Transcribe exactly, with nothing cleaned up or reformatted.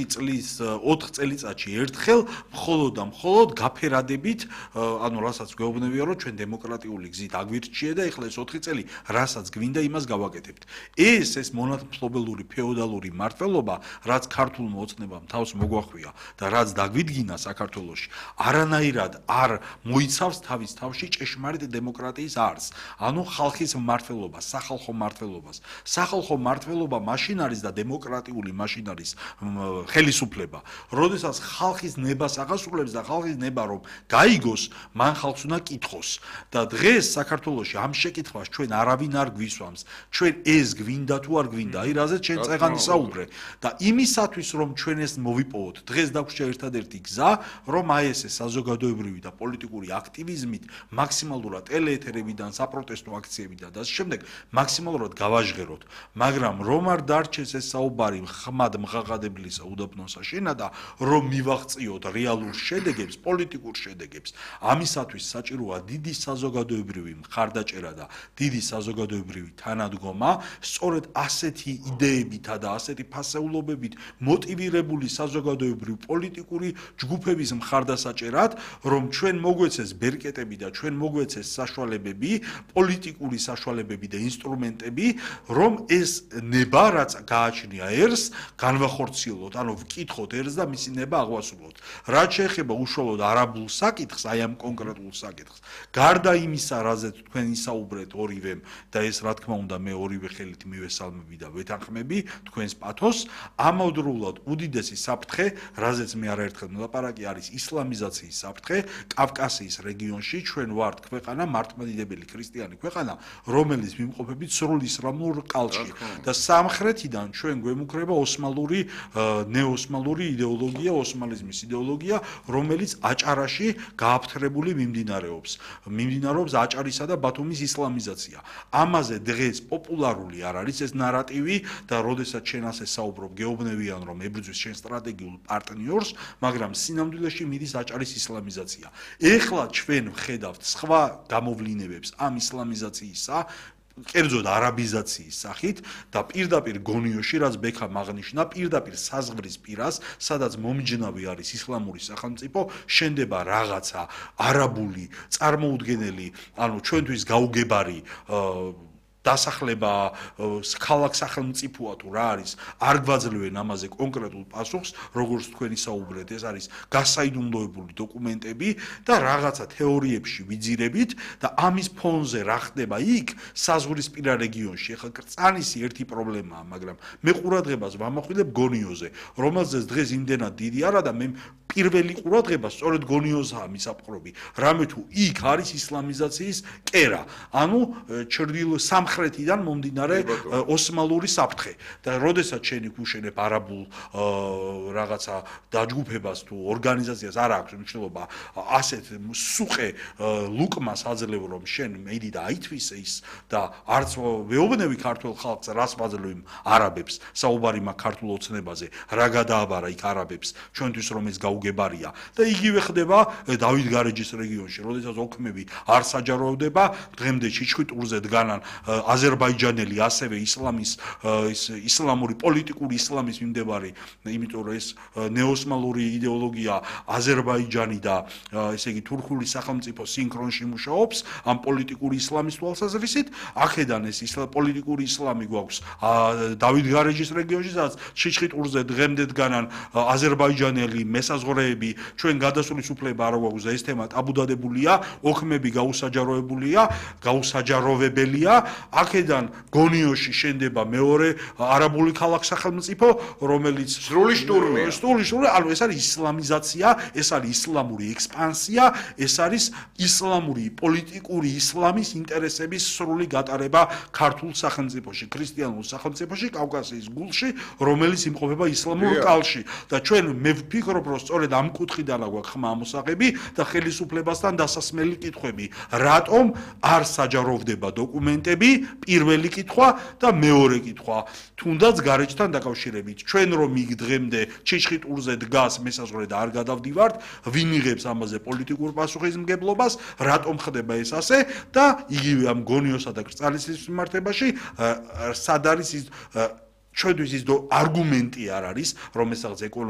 ოთხი წლის ოთხ წელიწადში ერთხელ მხოლოდ და მხოლოდ გაფერადებით, ანუ რასაც გვეუბნებია, რომ ჩვენ დემოკრატიული გზით აგვირჩიე და ეხლა ეს ოთხი წელი რასაც გვინდა იმას გავაკეთებთ. ეს ეს მონათმფლობელური ფეოდალური მართლობა, რაც ქართულმა ოცნებამ თავს მოგვახვია და რაც დაგვიდგინა საქართველოში, არანაირად არ მოიცავს თავის თავში ჭეშმარიტ დემოკრატიის არს. ანუ ხალხის მმართველობას, სახალხო მმართველობას. სახალხო მმართველობა მაშინ არის და დემოკრატიული მაშინ არის ხელისუფლება, როდესაც ხალხის ნებას აღასრულებს და ხალხის ნება რომ გაიგოს, მან ხალხს უნდა კითხოს. და დღეს საქართველოში ამ შეკითხვას ჩვენ არავინ არ გვისვამს. ჩვენ ეს გვინდა თუ არ გვინდა, აი რაზეც ჩვენ წეღან ისაუბრე. და იმისათვის რომ ჩვენ ეს მოვიპოვოთ, დღეს დაგვჭირდა ერთადერთი გზა, რომ აი ეს საზოგადოებრივი და პოლიტიკური აქტივიზმით მაქსიმალურად ტელეეთერებიდან, საპროტესტო აქციებიდან და ასე შემდეგ მაქსიმალურად გავაჟღეროთ. მაგრამ რომ არ დარჩეს ეს საუბარი ხმად მღაღადებლისა უდაბნოსა შენადა, რომ მივაღწიოთ რეალურ შედეგებს, პოლიტიკურ შედეგებს, ამისათვის საჭიროა დიდი საზოგადოებრივი მხარდაჭერა და დიდი საზოგადოებრივი თანადგომა, სწორედ ასეთი იდეებითა და ასეთი ფასეულობებით მოტივირებული საზოგადოებრივი პოლიტიკური ჯგუფების მხარდასაჭერად, რომ ჩვენ მოგვეცეს ბერკეტები და ჩვენ მოგვეცეს საშუალებები, პოლიტიკური საშუალებები და ინსტრუმენტები, რომ ეს ნება, რაც გააჩნია ერს, განვახორციელოთ, ანუ ვკითხოთ ერს და მისი ნება აღვასრულოთ. რაც შეეხება უშუალოდ არაბულ საკითხს, აი ამ კონკრეტულ საკითხს, გარდა იმისა, რაზეც თქვენ ისაუბრეთ ორივემ და ეს რა თქმა უნდა მე ორივე ხელით მივესალმები და ვეთანხმები თქვენს პათოსს, ამავდროულად უდიდესი საფრთხე, რაზეც მე არაერთხელ მოლაპარაკე, არის ისლამიზაციის საფრთხე კავკასიის რეგიონში. ჩვენ ვართ ქვეყანა, მართლმადიდებელი ქრისტიანი ქვეყანა, რომელიც ვიმყოფებით სრულ ისლამურ ყალში და სამხრეთიდან ჩვენ გვემუქრება ოსმალური, ნეოსმალური იდეოლოგია, ოსმალიზმის იდეოლოგია, რომელიც აჭარაში გააფთრებული მიმდინარეობს. მიმდინარეობს აჭარისა და ბათუმის ისლამიზაცია. ამაზე დღეს პოპულარული არ არის ეს ნარატივი და როდესაც შენ ასე საუბრობ, გეუბნებიან რომ ებრძვის შენ სტრატეგიულ პარტნიორს, მაგრამ სინამდვილეში მიდის აჭარის ისლამიზაცია. ეხლა ჩვენ ვხედავთ სხვა გამოვლინებებს ამ ისლამიზაციისა, კერძოდ არაბიზაციის სახით და პირდაპირ გონიოში, რაც ბექამ აღნიშნა, პირდაპირ საზღვრის პირას, სადაც მომიჯნავი არის ისლამური სახელმწიფო, შენდება რაღაცა არაბული წარმოუდგენელი, ანუ ჩვენთვის გაუგებარი დასახლება ქალაქ სახელმწიფოა თუ რა არის, არ გვაძლევენ ამაზე კონკრეტულ პასუხს, როგორც თქვენ ისაუბრეთ, ეს არის გასაიდუმლოებული დოკუმენტები და რაღაცა თეორიებში ვიძირებით და ამის ფონზე რა ხდება იქ საზღვრისპირა რეგიონში. ახლა კრწანისი ერთი პრობლემაა, მაგრამ მე ყურადღებას ვამახვილებ გონიოზე, რომელზეც დღეს იმდენად დიდი არა და მე პირველი ყურადღება სწორედ გონიოზაა მისაპყრობი, რამე თუ იქ არის ისლამიზაციის კერა, ანუ ჩრდილო სამხრეთიდან მომდინარე ოსმალური საფრთხე და როდესაც შენ იქ უშენებ არაბულ რაღაცა დაჯგუფებას თუ ორგანიზაციას არ აქვს მნიშვნელობა ასეთ სუყე ლუკმას აძლევ რომ შენ მედი და აითვისე ის და არც ვეუბნები ქართულ ხალხს რას ვაძლევ იმ არაბებს საუბარი მაქვს ქართულ ოცნებაზე რა გადააბარა იქ არაბებს ჩვენთვის რომ ეს გაუგებარია და იგივე ხდება დავით გარეჯის რეგიონში როდესაც ოქმები არ საჯაროვდება დღემდე ჩიჩხიტურზე დგანან აზერბაიჯანელი ასევე ისლამის ისლამური პოლიტიკური ისლამის მიმდევარი იმიტომ რომ ეს ნეოსმალური იდეოლოგია აზერბაიჯანი და ესე იგი თურქული სახელმწიფო სინქრონში მუშაობს ამ პოლიტიკური ისლამის თვალსაზრისით აქედან ეს პოლიტიკური ისლამი გვაქვს დავით გარეჯის რეგიონში სადაც ჩიჩხიტურზე დღემდე დგანან აზერბაიჯანელი მესაზღვრეები ჩვენ გადასulis უფლება არ გვაქვს და ეს თემა ტაბუდადებულია ოქმები გაუსაჯაროებულია გაუსაჯაროვებელია აქედან გონიოში შენდება მეორე არაბული ქალაქ სახელმწიფო რომელიც სრული შტურმია სრული შტურმი ანუ ეს არის ისლამიზაცია ეს არის ისლამური ექსპანსია ეს არის ისლამური პოლიტიკური ისლამის ინტერესების სრული გატარება ქართულ სახელმწიფოში ქრისტიანულ სახელმწიფოში კავკასიის გულში რომელიც იმყოფება ისლამურ ყალში და ჩვენ მე ვფიქრობ რომ სწორედ ამ კუთხიდან აქვს ხმა ამოსაღები და ხელისუფლებასთან დასასმელი კითხვები რატომ არ საჯაროვდება დოკუმენტები პირველი კითხვა და მეორე კითხვა თუნდაც გარეჯთან დაკავშირებით ჩვენ რომ იქ დღემდე ჩიჩხიტურზე დგას მესაზღვრე და არ გადავდივართ ვინ იღებს ამაზე პოლიტიკურ პასუხისმგებლობას რატომ ხდება ეს ასე და იგივე ამ გონიოსა და კრწალისის მიმართებაში სად არის ის ჩვენთვის ის არგუმენტი არ არის რომ ეს რაღაც